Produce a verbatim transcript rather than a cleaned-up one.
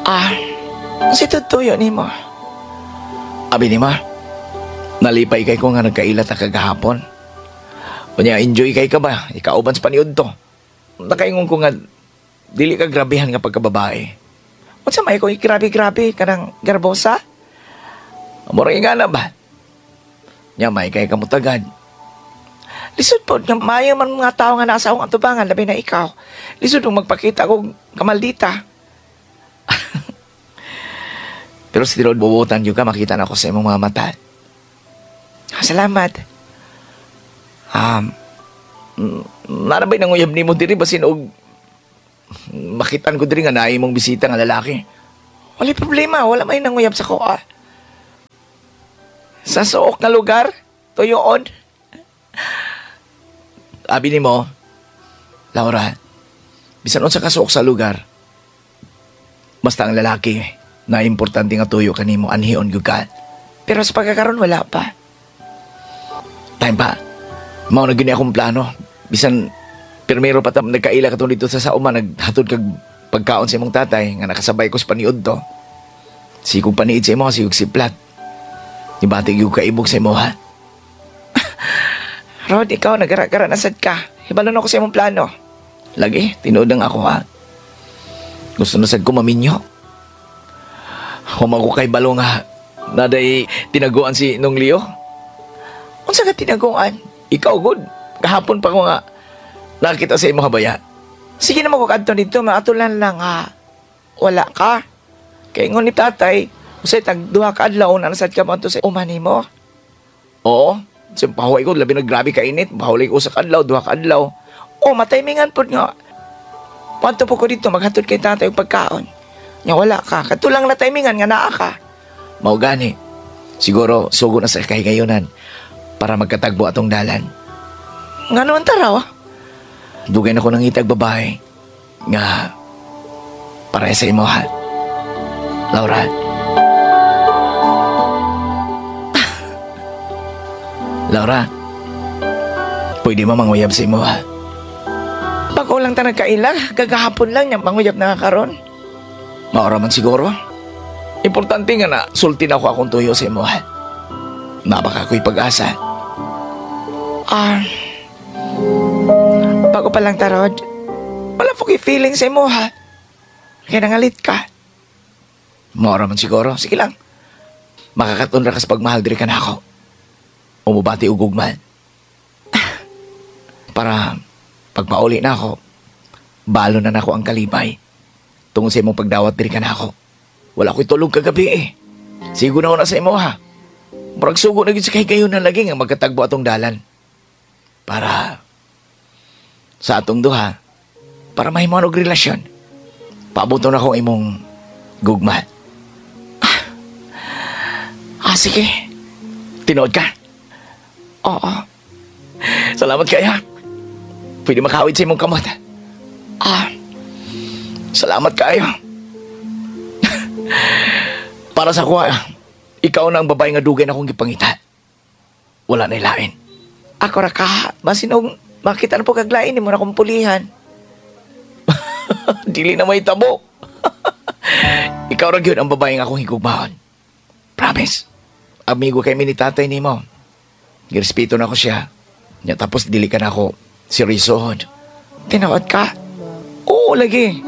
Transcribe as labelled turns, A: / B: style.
A: Ah, si tutuyo nimo. Abi nimo, nalipay kay ko nga nagkaila ta kagahapon. Unya, enjoy kay ka ba? Ikauban sa paniud to. Nakaingon ko nga, dili ka grabehan nga pagkababae. Unsa may ko grabe-grabe kanang garbosa? Mura nga na ba? Nya may kay kamutagad. Lisod po, nga maayo man mga tao nga nasa akong atubangan, labi na ikaw. Lisod mong magpakita kog kamaldita. Pero sa tinuod bubutan yun ka, makita na ako sa imong mga mata. Ah, salamat. Um, narabay nang uyab nimo diri basin og makitan ko diri nga naay mong bisita nga lalaki. Wala problema, wala may nanguyab sa kuha. Sa suok nga lugar, tuyoon. Abi nimo, Laura, bisan unsa ka suok sa lugar, basta ang lalaki na importante nga tuyo kanimo anhion gyud ka. Pero sa pagkakaroon wala pa. Time pa. Mao na gyud ni akong plano. Bisan pirmero pa ta nagkaila ka dito sa sauma naghatod kag pagkaon sa imong tatay nga nakasabay ko sa paniud to. Sikog paniid sa imo sigog siplat. Ibati gyud kaibog sa imo ha. Rod, ikaw nagara-gara na sad ka. Hibalo na ako sa imong plano. Lagi, tinuod ang ako ha. Gusto na sad ko maminyo. Huwag ko kay balo nga naday tinaguan si Nong Leo. Unsa ka tinaguan? Ikaw good. Kahapon pa ko nga nakita sa imo habaya. Sige na mo kadto dito, maatulan lang ha. Wala ka. Kay ingon ni tatay, usay tag duha ka adlaw na nasad ka mo sa uma nimo. Oo. Sa pahuway ko, labi na grabe ka init. Pahuway ko sa kadlaw, duha ka adlaw. Oh, mataymingan pod nga. Padto po ko dito, maghatod kay tatay og pagkaon. Nya wala ka. Katulang na timingan nga naa ka. Mao gani. Siguro sugo na sa kahigayunan para magkatagbo atong dalan. Nga naman taraw. Dugay na ko nangitag babae nga para sa imo ha. Laura. Laura, pwede mo manguyab sa imo ha? Bago lang ta nagkaila, gagahapon lang niya manguyab na nga karon. Maura man siguro. Importante nga na sulti na ako akong tuyo sa imo ha. Nabaka ko'y pag-asa. Ah, bago pa lang tarod, wala po ko'y feeling sa imo ha. Kaya nangalit ka. Maura man siguro. Sige lang. Makakatunra ka sa pagmahal diri ka na ako. Umubati og ugma. Para pagpauli na ako, balo na nako ang kalibay. Tungod sa imong pagdawat diri ka na ako. Wala ko'y tulog kagabi eh. Sigo na na sa imo ha. Murag sugo na gyud sa kahigayon na lagi nga magkatagbo atong dalan. Para sa atong duha, para mahimo og relasyon. Paabot na akong imong gugma. Ah, ah sige. Tinuod ka? Oo. Salamat kaya. Pwede makawid sa imong kamot. Ah, salamat kayo. Para sa kuha, ikaw na ang babae nga dugay na akong gipangita. Wala na ilain. Ako ra ka, basin og makita na po kaglain nimo na akong pulihan. Dili na may tabo. Ikaw ra gyud ang babae nga akong higugmaon. Promise. Amigo kay mi ni tatay nimo. Girespeto na ko siya. Nya tapos dili ka na ako seryosohon. Tinuod ka? Oo, lagi.